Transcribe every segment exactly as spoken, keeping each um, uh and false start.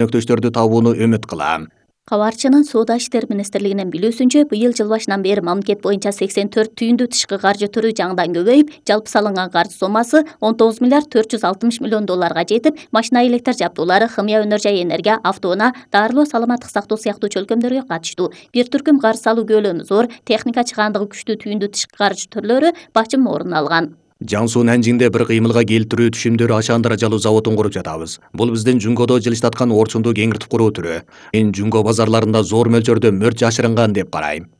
өнөктөштөрдү табууну үмүт кылам. Кабарчынын Соода иштери министрлигинин билүүсүнчө, быйыл жыл башынан бери мамлекет боюнча сексен төрт түйүндүү тышкы каржы түрү жаңыдан көбөйүп, жалпы салынган каржы соммасы он тогуз миллиард төрт жүз алтымыш миллион долларга жетип, машина электр жабдуулары, химия өнөр жай энергия, автоунаа, дарылоо, саламаттык сактоо сыяктуу чөлкөмдөргө катыштуу. Бир түркүм каржы салуу көлөмү зор, техника чыгаандыгы күчтүү түйүндүү тышкы каржы түрлөрү бачым орун алган. Жаңсуу Нанжиңде бир кыймылга келтирүү түшүмдөр ашаан даражалуу заводун куруп жатабыз. Бул биздин Жунгодо жылыштаткан орчунду кеңиртип куруу түрү. Мен Жунго базарларында зор мөлчөрдө мөрт жашырынган деп карайм.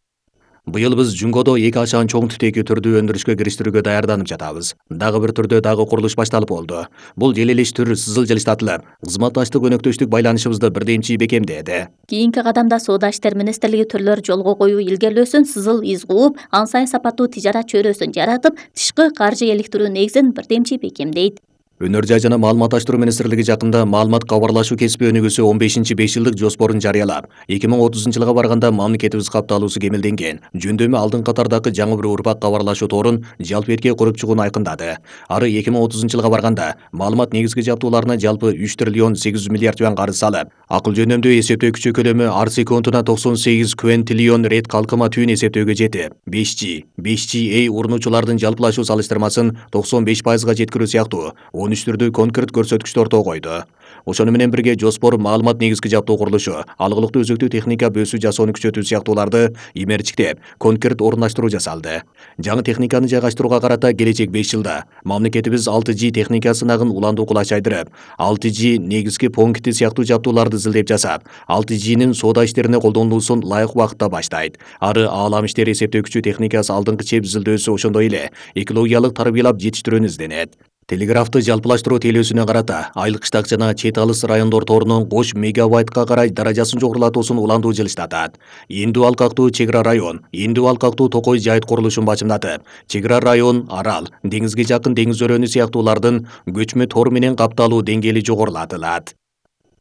Быйыл биз Жунгодо эки ашаан чоң түтеки түрдү өндүрүшкө кириштирүүгө даярданып жатабыз. Дагы бир түрдө дагы курулуш башталып болду. Бул желелеш түр сызыл жылыштатылып, кызматташтык өнөктөштүк байланышыбызды бирдемчи бекемдеди. Кийинки кадамда Соода иштери министрлиги түрлөр жолго коюу илгерлөөсүн сызыл из кууп, ан сайын сапаттуу тижарат чөйрөсүн жаратып, тышкы каржы иликтирүү негизин бирдемчи бекемдейт. Өнөр жай жана маалыматташтыруу министрлиги жакында маалымат кабарлашуу кесиби өнүгүүсү он бешинчи беш жылдык жоспорун жарыялап, эки миң отузунчу жылга барганда мамлекетибиз капталуусу кемелденген, жөндөмү алдын катардагы жаңы бир урпак кабарлашуу торун жалпы эрке куруп чыгууну айкындады. Ары эки миң отузунчу жылга барганда маалымат негизги жабдууларына жалпы үч триллион сегиз жүз миллиард юан карыз салып, акыл жөнөмдүү эсептөөкүчү көлөмү ар секундуна токсон сегиз квинтиллион рет калкыма түйүн эсептөөгө жетип, беш джи, беш джи эй урунуучулардын жалпылашуу салыштырмасын токсон беш пайызга жеткирүү сыяктуу он үч түрдүү конкрет көрсөткүчтөр орто койду. Ошону менен бирге жоспор маалымат негизги жабдуу курулушу, алгылыктуу өзөктүү техника бөөсү жасоону күчөтүү сыяктууларды имерчиктеп, конкрет орундаштыруу жасалды. Жаңы техниканы жайгаштырууга карата келечек беш жылда мамлекетибиз алты джи техника сынагын уландуу кулач айдырып, алты джи негизги пункти сыяктуу жабдууларды изилдеп жасап, алты джинин соода иштерине колдонулуусун ылайык убакытта баштайт. Ары аалам иштери эсептөөкүчү техникасы алдыңкы чеп изилдөөсү ошондой эле экологиялык тарбиялап жетиштирүүнү изденет. Телеграфты жалпылаштыруу телөөсүнө карата айлык штак жана чет алыс райондор торунун кош мегабайтка карай даражасын жогорулатуусун уландуу жылыштатат. Эндүү алкактуу чек ара район, эндүү алкактуу Токой жайыт курулушун бачымдатып, чек ара район, арал, деңизге жакын деңиз өрөөнү сыяктуулардын көчмө тор менен капталуу деңгээли жогорулатылат.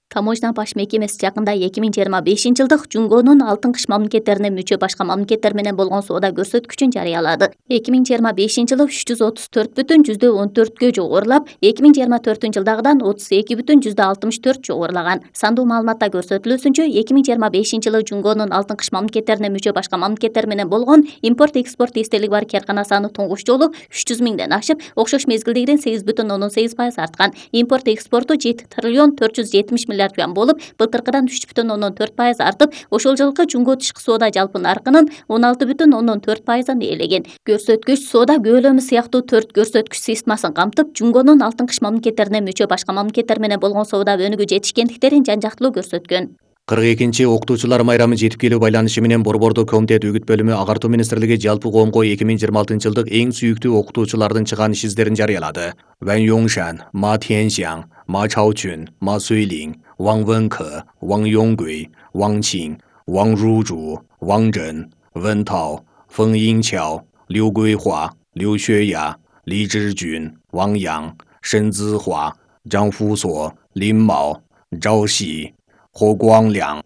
Таможня баш мекемеси жакында эки миң жыйырма бешинчи жылдык Жунгонун алтын кыш мамлекеттерине мүчө башка мамлекеттер менен болгон соода көрсөткүчүн жарыялады. эки миң жыйырма бешинчи жылы үч жүз отуз төрт бүтүн жүздө он төрткө жогорулап, эки миң жыйырма төртүнчү жылдагыдан отуз эки бүтүн жүздө алтымыш төрт жогорулаган. Сандуу маалыматта көрсөтүлүүсүнчө, эки миң жыйырма бешинчи жылы Жунгонун алтын кыш мамлекеттерине мүчө башка мамлекеттер менен болгон импорт-экспорт эстелиги бар каркана саны туңгуч жолу үч жүз миңден ашып, окшош мезгилдегиден сегиз бүтүн ондон сегиз пайыз арткан. Импорт-экспорту жети триллион төрт жүз жетимиш миллиард юан болуп, былтыркыдан үч бүтүн ондон төрт пайыз артып, ошол жылкы Жунго тышкы соода жалпы наркынын он алты бүтүн ондон төрт пайызын ээлеген. Көрсөткүч соода көлөмү сыяктуу төрт көрсөткүч системасын камтып, Жунгонун алтын кыш мамлекеттерине мүчө башка мамлекеттер менен болгон соода өнүгүү жетишкендиктерин жан-жактылуу көрсөткөн. кырк экинчи окутуучулар майрамы жетип келүү байланышы менен Борбордук комитет үгүт бөлүмү агартуу министрлиги жалпы коомго эки миң жыйырма алтынчы жылдык эң сүйүктүү окутуучулардын чыгаан иш издерин жарыялады. Ван Йоңшан, Ма Тяньсян, Ма Чаочун, Ма Суйлин, Ван Вэнкэ, Ван Йоңгуй, Ван Чин, Ван Ружу, Ван Зhen, Вэн Тао, Фэн Йинчао, Лю Гуйхуа, Лю Xueя, Ли Зhижун, Ван Ян, Шэн Цзихуа, Зhang Фусо, Лин Мао, Зhao Xi, Хо Гуанглян,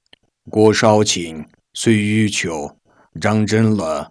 Го Шаочин, Суй Ючу, Зhang Зhenле,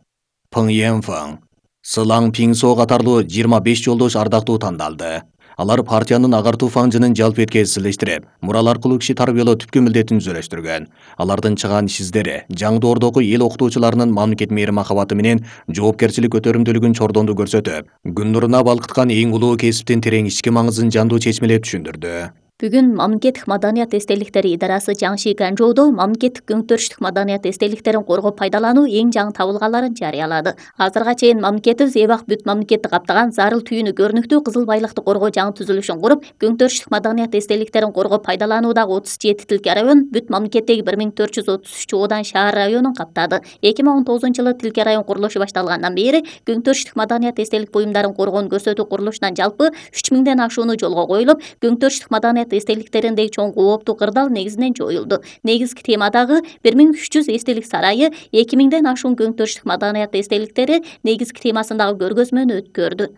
Пэн Янфэн, Сылаң Пиңсо катарлуу жыйырма беш жолдош ардактуу тандалды. Алар партиянын агартуу фанжынын жалпы эткезилештирип, мурал аркылуу киши тарбиялоо түпкү милдетин түзөлөштүргөн. Алардын чыгаан иш издери жаңдоордогу эл окутуучуларынын мамлекет мээри махабаты менен жоопкерчилик көтөрүмдүүлүгүн чордондуу көрсөтүп, күн нуруна балкыткан эң улуу кесиптин терең ички маңызын жандуу чечмелеп түшүндүрдү. Бүгүн мамлекеттик маданият эстеликтери идарасы Жаңши Ганжоудо мамлекеттик өңтөрүштүк маданият эстеликтерин коргоп пайдалануу эң жаңы табылгаларын жарыялады. Азырга чейин мамлекетибиз эбак бүт мамлекетти каптаган зарыл түйүнү көрүнүктүү кызыл байлыкты коргоо жаңы түзүлүшүн куруп, өңтөрүштүк маданият эстеликтерин коргоп пайдалануудагы отуз жети тилке район бүт мамлекеттеги бир миң төрт жүз отуз үч оодан шаар районун каптады. эки миң он тогузунчу жылы тилке район курулушу башталгандан бери өңтөрүштүк маданият эстелик буюмдарын коргоону көрсөтүү курулушунан жалпы үч миңден ашууну жолго коюлуп, өңтөрүштүк маданият эстеликтериндеги чоң кооптуу кырдаал негизинен жоюлду. Негизги темадагы бир миң үч жүз эстелик сарайы эки миңден ашуун өңтөрүштүк маданият эстеликтери негизги темасындагы көргөзмөнү өткөрдү.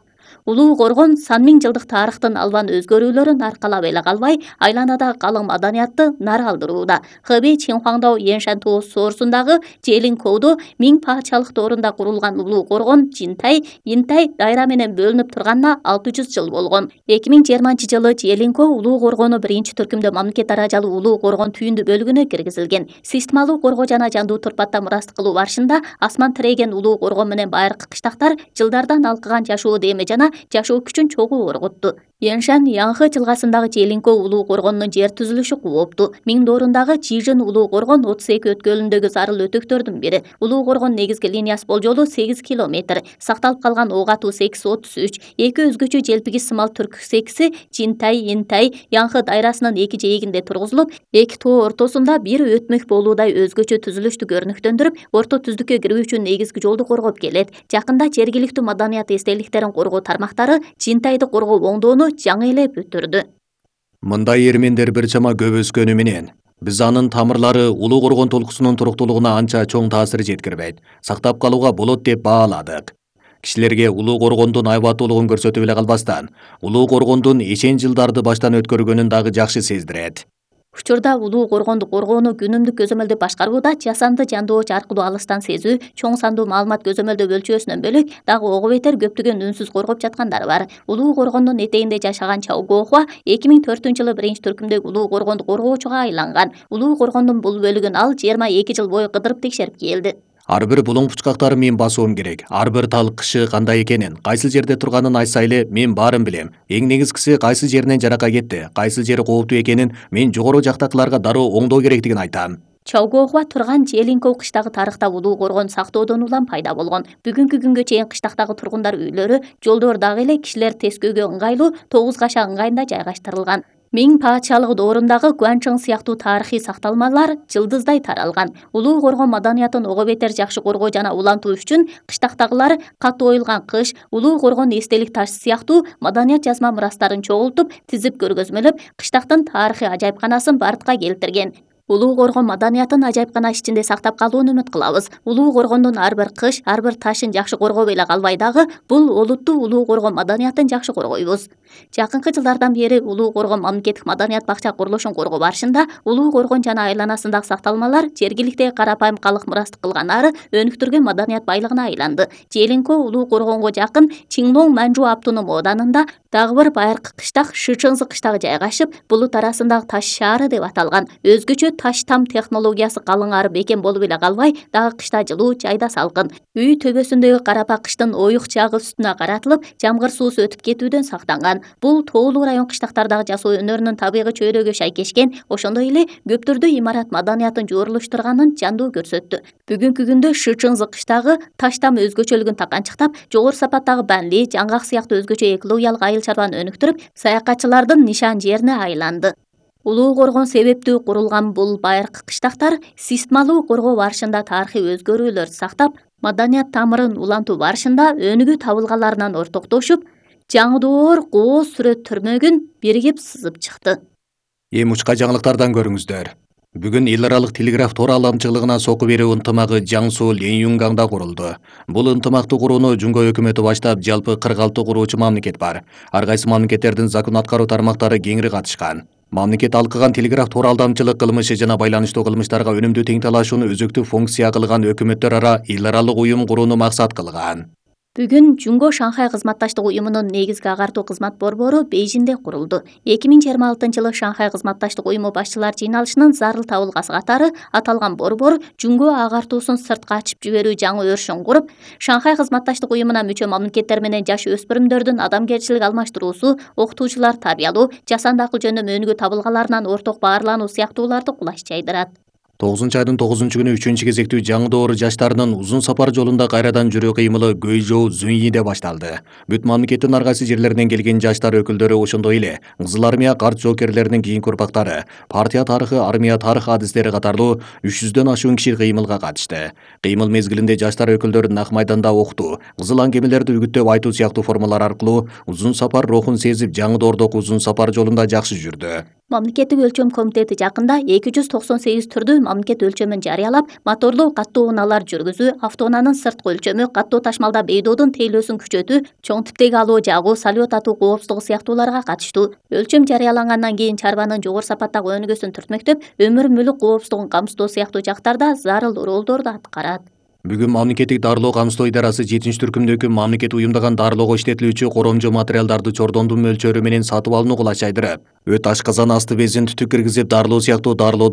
Улуу Коргон сан миң жылдык тарыхтын албан өзгөрүүлөрүн аркалап эле калбай, айланадагы калың маданиятты нары алдырууда. Хэбэй Чинхуаңдоо Яншан тоо соорусундагы Желинкоудо миң патшалык доорунда курулган Улуу Коргон Жинтай, Интай дайра менен бөлүнүп турганына алты жүз жыл болгон. эки миң жыйырманчы жылы Желинко Улуу Коргону биринчи түркүмдө мамлекет даражалуу Улуу Коргон түйүндү бөлүгүнө киргизилген. Системалуу коргоо жана жандуу турпатта мурастык кылуу барышында асман тиреген Улуу Коргон менен байыркы кыштактар жылдардан алкыган жашоо деме жана жашоо күчүн чогуу орготту. Яншан Янхы жылгасындагы Желинко Улуу Коргонунун жер түзүлүшү кубопту. Миң доорундагы Чижин Улуу Коргон отуз эки өткөлүндөгү зарыл өтөктөрдүн бири. Улуу Коргон негизги линиясы болжолу сегиз километр. Сакталып калган ок атуу секиси отуз үч. Эки өзгөчө желпиги сымал түрк секиси Жинтай, Интай, Янхы дайрасынын эки жээгинде тургузулуп, эки тоо ортосунда бир өтмөк болуудай өзгөчө түзүлүштү көрүнүктөндүрүп, орто түздүккө кирүү үчүн негизги жолду коргоп келет. Жакында жергиликтүү маданият эстеликтерин коргоо тармактары Жинтайды коргоо оңдоону жаңы эле бүтүрдү. Мындай эрмендер бир чама көп өскөнү менен биз анын тамырлары Улуу Коргон толкусунун туруктуулугуна анча чоң таасир жеткирбейт, сактап калууга болот деп бааладык. Кишилерге Улуу Коргондун айбаттуулугун көрсөтүп эле калбастан, Улуу Коргондун эчен жылдарды баштан өткөргөнүн дагы жакшы сездирет. Учурда Улуу Коргонду коргоону күнүмдүк көзөмөлдү башкарууда жасанды жандооч аркылуу алыстан сезүү, чоң сандуу маалымат көзөмөлдөө өлчөөсүнөн бөлөк дагы ого бетер көптөгөн үнсүз коргоп жаткандары бар. Улуу Коргондун этегинде жашаган Чаогохуа эки миң төртүнчү жылы биринчи түркүмдөгү Улуу Коргонду коргоочуга айланган. Улуу Коргондун бул бөлүгүн ал жыйырма эки жыл бою кыдырып текшерип келди. Ар бир булуң пучкактарын мен басуум керек. Ар бир тал кышы кандай экенин, кайсы жерде турганын айтса эле мен баарын билем. Эң негизгиси кайсы жеринен жарака кетти, кайсы жери кооптуу экенин мен жогору жактакыларга дароо оңдоо керектигин айтам. Чаогохуа турган Желинко кыштагы тарыхта Улуу Коргон сактоодон улам пайда болгон. Бүгүнкү күнгө чейин кыштактагы тургундар үйлөрү, жолдор дагы эле кишилер тескөөгө ыңгайлуу тогуз каша ыңгайында жайгаштырылган. Миң патшалык доорундагы Гуанчжың сыяктуу тарыхый сакталмалар жылдыздай таралган. Улуу Коргон маданиятын ого бетер жакшы коргоо жана улантуу үчүн кыштактагылар катуу оюлган кыш, Улуу Коргон эстелик ташы сыяктуу маданият жазма мурастарын чогултуп, тизип көргөзмөлөп, кыштактын тарыхый ажайыпканасын бартка келтирген. Улуу Коргон маданиятын ажайыпкана ичинде сактап калууну үмүт кылабыз. Улуу Коргондун ар бир кыш, ар бир ташын жакшы коргоп эле калбай дагы бул олуттуу Улуу Коргон маданиятын жакшы коргойбуз. Жакынкы жылдардан бери Улуу Коргон мамлекеттик маданият бакча курулушун коргоо барышында Улуу Коргон жана айланасындагы сакталмалар жергиликтеги карапайым калк мурастык кылганары өнүктүргөн маданият байлыгына айланды. Желинко Улуу Коргонго жакын Чингнон Манжу Аптунум ооданында дагы бир байыркы кыштак Шычыңзы кыштагы жайгашып, булут арасындагы таш шаары деп аталган. Өзгөчө таш там технологиясы калыңары бекем болуп эле калбай, дагы кышта жылуу, жайда салкын. Үй төбөсүндөгү карапа кыштын оюк чагы үстүнө каратылып, жамгыр суусу өтүп кетүүдөн сактанган. Бул тоолуу район кыштактардагы жасоо өнөрүнүн табигый чөйрөгө шайкешкен, ошондой эле көптөрдү имарат маданиятын жуурулуштурганын жандуу көрсөттү. Бүгүнкү күндө Шычыңзы кыштагы таш там өзгөчөлүгүн таканчыктап, жогору сапаттагы банли, жаңгак сыяктуу өзгөчө экологиялык айыл чарбаны өнүктүрүп, саякатчылардын нишан жерине айланды. Улуу Коргон себептүү курулган бул байыркы кыштактар системалуу коргоо барышында тарыхый өзгөрүүлөр сактап, маданият тамырын улантуу барышында өнүгүү табылгаларынан ортоктошуп, жаңы доор кооз сүрөт түрмөгүн биригип сызып чыкты. Эми учка жаңылыктардан көрүңүздөр. Бүгүн эл аралык телеграф тор аламчылыгына соку берүү ынтымагы Жаңсу Ленюнгаңда курулду. Бул ынтымакты курууну Жумго өкмөтү баштап, жалпы кырк алты куруучу мамлекет бар. Ар кайсы мамлекеттердин закон аткаруу тармактары кеңири катышкан. Мамлекет алкыган телеграф тор алдамчылык кылмышы жана байланыштуу кылмыштарга өнүмдүү тең талашууну өзөктүү функция кылган өкмөттөр ара эл аралык уюм курууну максат кылган. Бүгүн Жумго Шанхай кызматташтык уюмунун негизги агартуу кызмат борбору Бейжинде курулду. эки миң жыйырма алтынчы жылы Шанхай кызматташтык уюму башчылар жыйналышынын зарыл табылгасы катары аталган борбор Жумго агартуусун сыртка ачып жиберүү жаңы өрүшүн куруп, Шанхай кызматташтык уюмуна мүчө мамлекеттер менен жаш өспүрүмдөрдүн адамгерчилик алмаштыруусу, окутуучулар тарбиялоо, жасанды акыл жөнүндө өнүгүү табылгаларынан орток баарлануу сыяктууларды кулаш жайдырат. тогузунчу айдын тогузунчу күнү үчүнчү кезектүү жаңы доор жаштарынын узун сапар жолунда кайрадан жүрүү кыймылы Гөйжоу Зуньиде башталды. Бүт мамлекеттин ар кайсы жерлеринен келген жаштар өкүлдөрү, ошондой эле Кызыл армия карт жоокерлеринин кийинки урпактары, партия тарыхы, армия тарых адистери катарлуу үч жүздөн ашуун киши кыймылга катышты. Кыймыл мезгилинде жаштар өкүлдөрү Нак майданда окутуу, кызыл аңгемелерди үгүттөп айтуу сыяктуу формалар аркылуу узун сапар рухун сезип, жаңы доордогу узун сапар жолунда жакшы жүрдү. Мамлекеттик өлчөм комитети жакында эки жүз токсон сегиз түрдүү мамлекет өлчөмүн жарыялап, моторлуу каттуу унаалар жүргүзүү, автоунаанын сырткы өлчөмү, каттуу ташмалда бейдоодун тейлөөсүн күчөтүү, чоң типтеги алуу жагуу, салют атуу коопсуздугу сыяктууларга катыштуу. Өлчөм жарыялангандан кийин чарбанын жогору сапаттагы өнүгүүсүн түртмөктөп, өмүр мүлүк коопсуздугун камсыздоо сыяктуу жактарда зарыл ролдорду аткарат. Бүгүн мамлекеттик дарылоо камсыздоо идарасы жетинчи түркүмдөгү мамлекет уюмдаган дарылоого иштетилүүчү коромжо материалдарды чордондун мөлчөрү менен сатып алууну кулачайдырып, өт ашказан асты безин түтүк киргизип дарылоо сыяктуу дарылоодо